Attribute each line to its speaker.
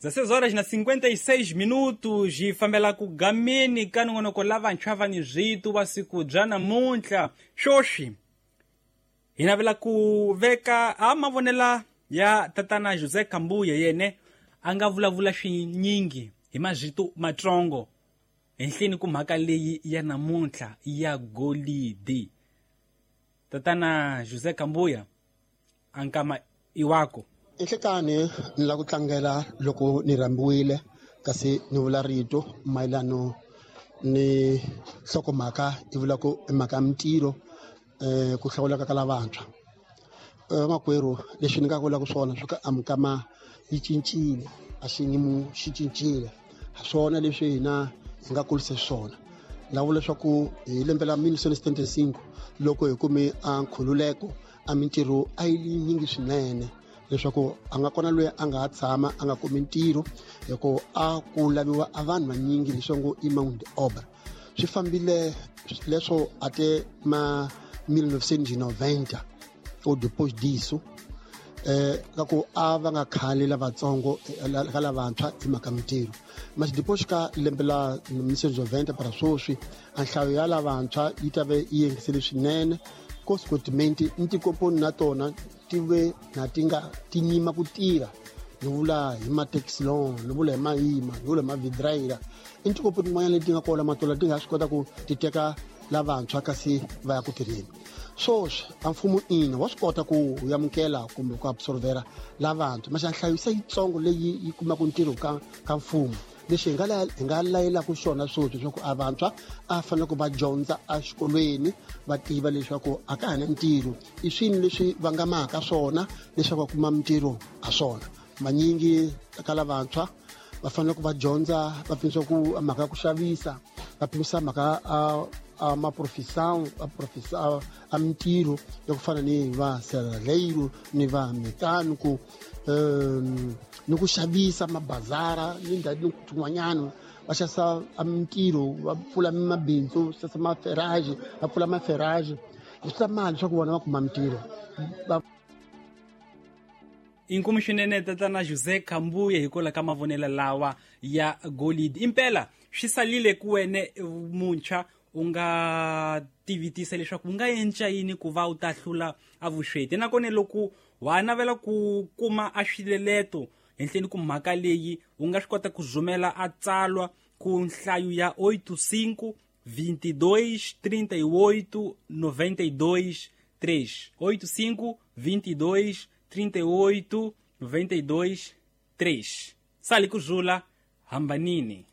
Speaker 1: 16 horas na 56 minutos hi fambela ku gameni ka nongonoko lavantshwa va ni zwitu wa siku bya namuntlha. Swoswi hi navela ku veka a mavonela ya tatana José Kambuya, yene a nga vulavula swinyingi hi mazwitu matsongo henhleni ku mhaka leyi ya namuntlha ya golidi. Tatana José Kambuya, a nkama iwako.
Speaker 2: Enhlekani ni lava ku tlangela loko ni rhambiwile kasi ni vula rito mayelano ni nhlokomhaka yi vula ku i mhaka ya mintirho, ku hlawuleka ka lavantshwa. Vamakwerhu, leswi ni nga vulaka swona swa ku a mikama yi cincile, a xiyimo xi cincile, swona leswi hina hi nga kulisa swona. Ni nga vula leswaku hi lembe la 1975 loko hi kume a nkhululeko, a mintirho a yi yinyingi swinene, leswaku a nga kona loyi a nga ha tshama a nga kumi ntirho, hi ku a ku laviwa a vanhu vanyingi leswi ngo i mão de obra. Swi fambile leswo ate ma 1990 ou depois disso, ka ku a va nga khali lavatsongo ka lavantshwa hi mhaka mintirho. Mas depois ka lembe la 1990 para sweswi, a nhlayo ya lavantshwa yi ta ve yi yengisile swinene. Consequentemente ni tikomponi na tona ti ve na ti nga ti nyima ku tirha, ni vula hi matexilon, ni vula hi mayima, ni vula hi mavidraira. I tikomponi tin'wanyana leti nga kona matola ti nga swi kota ku ti teka lavantshwa kasi va ya ku tirheni. Swoswi a mfumo ina wa swi kota ku amukela kumbe ku absorbera lavantshwa, masi nhlayo se yitsongo leyi yi kumaka ntirho ka mfumo. Lexi hi nga layelaka xona sweswi leswaku a vantshwa a fanele ku va dyondza exikolweni, va tiva leswaku a ka ha na ntirho, i swini leswi vangamaka swona leswaku va kuma mintirho ha swona. Manyingi ka lavantshwa va fanele ku va dyondza, va pimisa ku mhaka ya ku xavisa, va pimisa mhaka a maprofesão, a profesa a mintirho ya ku fana ni va serralheiro ni va mecânico, ni ku xavisa mabazara ni ndhawu tin'wanyana, va xavisa a mintirho, va pfula mabindzu, xavisa maferage, va pfula maferage leswi ta mali leswaku vona va kuma mintirho.
Speaker 1: Inkomu swinene tatana José Kambuye hikwalaho ka mavonelo lawa ya golidi. Impela swi salile ku wene muntshwa u nga tivitisa leswaku u nga endla yini ku va u ta hlula a vusweti, nakona loko wa navela ku kuma a swileleto henhleni ku mhaka leyi, u nga swi kota ku zumela a tsalwa ku nhlayo ya 85 22 38 92 3, 85 22 38 92 3. Sali kuzula hambanini.